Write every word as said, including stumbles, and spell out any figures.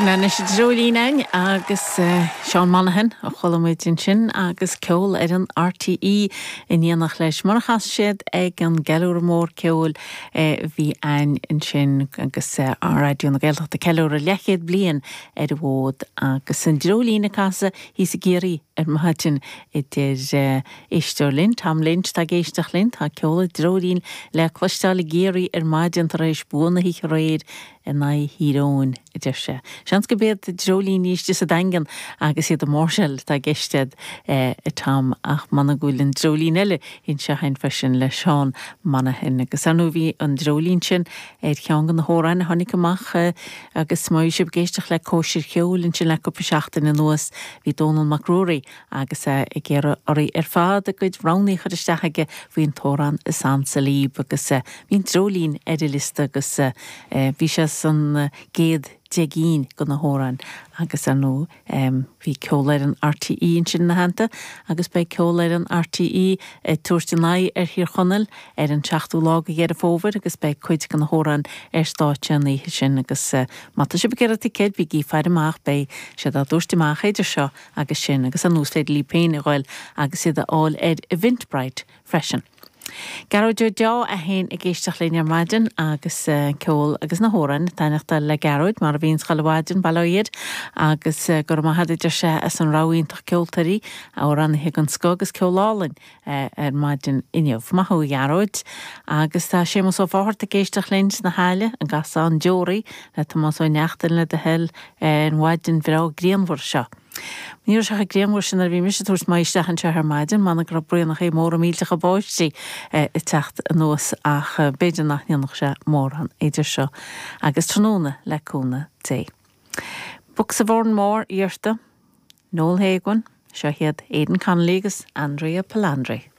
Sin anois an Dreoilín againn agus Seán Monaghan a chuala muid ansin agus ceol ar an RTÉ in éineacht leis mar a chas siad ag an gceiliúradh mór ceoil a bhí ann ansin agus Raidió na Gaeltachta ceiliúradh leathchéad bliain ar an bhfód agus an Dreoilín ag casadh thíos i gCiarraí ar maidin idir éisteoir linn Tom Lynch tá ag éisteacht linn tá ceol an Dreoilín le cloisteáil i gCiarraí ar maidin tar éis bua na hoíche aréir in aghaidh Thír Eoghain a deir sé. Seans gurb iad dreoilíní istigh sa Daingean agus iad ag máirseáil atá i gceist ag Tom ach m'anam go bhfuil an dreoilín eile anseo againn freisin le Seán Monaghan agus ar ndóigh bhí an dreoilín sin ar cheann de na hamhráin a tháinig amach agus má bhí sibh ag éisteacht le cóisir cheoil ansin le cúpla seachtain anuas bhí Dónal Mac Ruairí agus é ag iarraidh oraibh ar fad a gcuid roghanna a chur isteach aige faoin t-amhrán is ansa libh agus bhí an dreoilín ar an liosta agus bhí sé san gcéad deich gcinn de na hamhráin agus ar ndóigh bhí ceol ar an RTÉ ansin ina theannta agus beidh ceol ar an RTÉ ag tabhairt an aghaidh ar Thír Chonaill ar an seachtú lá de Dheireadh Fómhair agus beidh cuid de na hamhráin ar stáitse an oíche sin agus má tá sibh ag iarraidh ticéid bígí ag faire amach beidh siad á dtabhairt amach idir seo agus sin agus an is féidir libh féin a ghoil agus iad a fháil ar Eventbrite freisin. Gearóid Ó Deá é féin ag éisteacht linn ar maidin agus ceol agus na hamhráin ag taitneachtáil le Gearóid mar a bhíonns chuile mhaidin bail ó Dhia air agus go raibh maith agat a deir sé as an rogha iontach ceoltóirí amhránaithe den scoth agus ceol álainn ar maidin inniu. Maith thú a Ghearóid agus tá Séamus Ó Fátharta ag éisteacht linn sna hAille an Gasán Deoraí le Tomás Ó Neachtain le do thoil ar an mhaidin bhreá grianmhar seo. Ní raibh sé chomh grianmhar sin nuair a bhí mise ag tabhairt m'aghaidh isteach anseo ar maidin, m'anam go raibh braonacha móra millteacha báistí ag teacht anuas ach b'fhéidir nach ndéanfadh sé mórán idir seo agus tráthnóna le cúnamh Dé. Books of Oranmore iarrta, Noel Hagan, seo iad Aidan Connolly agus Andrea Palandri.